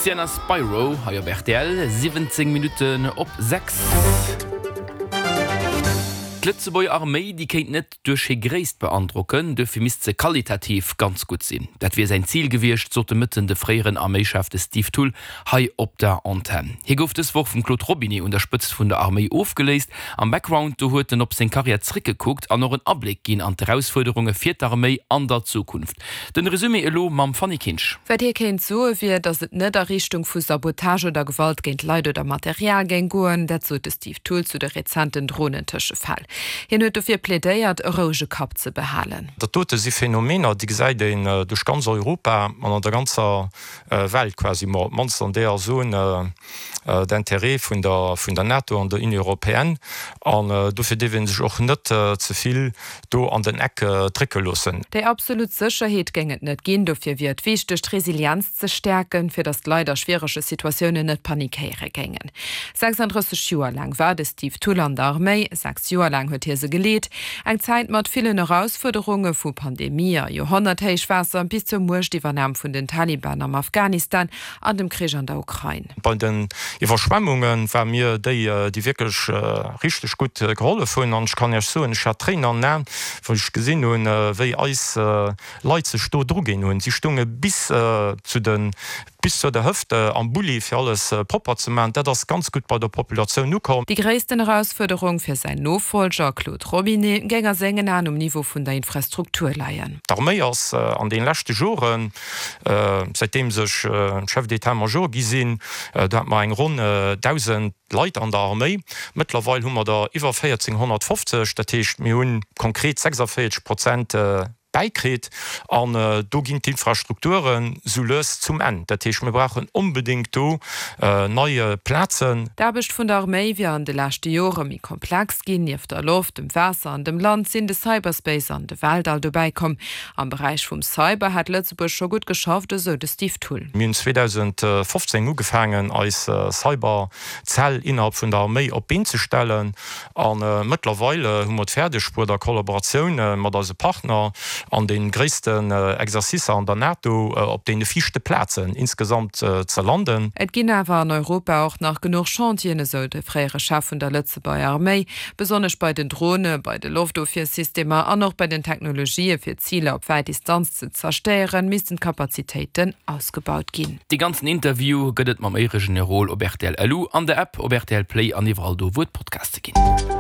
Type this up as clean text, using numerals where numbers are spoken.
Sienna Spiro hei op rtl, 17 Minutten op 6. D'Lëtzebuerger Arméi, déi kéint net duerch hir Gréisst beandrocken, duerfir misst se qualitativ ganz gutt sinn. Dat wier säin Zil gewiescht, sot de Mëtten de fréieren Arméichef, de Steve Thull, hei op der Antenn. Hie gouf dës Woch vum Claude Robinet un der Spëtzt vun der Arméi ofgeléist. Am Background do huet en op seng Karriär zréckgekuckt an och en Abléck ginn an d'Erausfuerderunge fir d'Arméi an der Zukunft. Den Resumé elo mam Fanny Kinsch. Wat hie kéint soe wier, datt et net a Richtung vu Sabotage oder Gewalt géint Leit oder Material géing goen. Dat sot de Steve Thull zu de rezenten Dronen-Tëschefäll. Hien huet dofir plädéiert, e rouege Kapp ze behalen. Dat dote si Phänomener, déi gesäit een duerch ganz Europa an an der ganzer Welt quasi, ma op d'mannst an deeër Zone d'intérêt vun der vun der NATO an der Union européenne. An dofir dierf ee sech och net ze vill do an den Eck drécke loossen. Déi absolut Sécherheet géing et net ginn. Dofir wier et wichteg, d'Resilienz ze stäerken, fir datt d'Leit a schwierege Situatiounen net panikéiere géingen. 36 Joer laang war de Steve Thull an der Arméi. 6 Joer laang huet hie se geleet. Eng Zäit mat villen Erausfuerderunge, vu Pandemie a Joerhonnerthéichwaasser bis zur Muechtiwwernam vun den Taliban am Afghanistan an dem Krich an der Ukrain. Bei den Iwwerschwemmunge ware mir déi, déi wierklech richteg gutt gehollef hunn. An ech kann Iech soen, ech hat Tréinen an den Aen, wou ech gesinn hunn, wéi eis Leit sech do druginn hunn. Si stounge bis zu de bis zur der Hëft am Bulli, fir alles propper ze maachen. Dat ass ganz gutt bei der Populatioun ukomm. Déi gréissten Erausfuerderung fir säin Nofollger Claude Robinet géing a sengen Aen um Niveau vun der Infrastruktur leien. D'Arméi ass an deene leschte Joren, säitdeems ech Chef d'état-major gi sinn, do hate mer eng ronn 1.000 Leit an der Arméi. Mëttlerweil hu mer der iwwer 1.450, dat heescht mir hu konkret 46 Prozent bäikritt. An do ginn d'Infrastrukturen sou lues zum Enn. Dat heescht, mir brauchen onbedéngt do nei Plazen. D'Aarbecht vun der Arméi wier an de leschte Jore méi komplex ginn. Nieft der Loft, dem Waasser an dem Land sinn de Cyberspace an de Weltall dobäi komm. Am Beräich vum Cyber hätt Lëtzebuerg scho gutt geschafft, esou de Steve Thull. Mir hunn 2015 ugefaangen, eis Cyberzell innerhalb vun der Arméi op d'Been ze stellen. A mëttlerweil hu mer et fäerdeg bruet, a Kollaboratioun mat eise Partner an de gréissten Exercicer an der NATO op deene viischte Plazen insgesamt ze landen. Et ginn awer an Europa och nach genuch Chantieren, esou de fréiere Chef vun der Lëtzebuerger Arméi. Besonnesch bei den Drone, bei de Loftofwiersystemer an och bei den Technologië fir Ziler op wäit Distanz ze zerstéieren, missten d'Kapazitéiten ausgebaut ginn. Dee ganzen Interview gëtt et mam Éieregenerol op rtl LU, an der App, op rtl Play an iwwerall do wou et Podcaste ginn.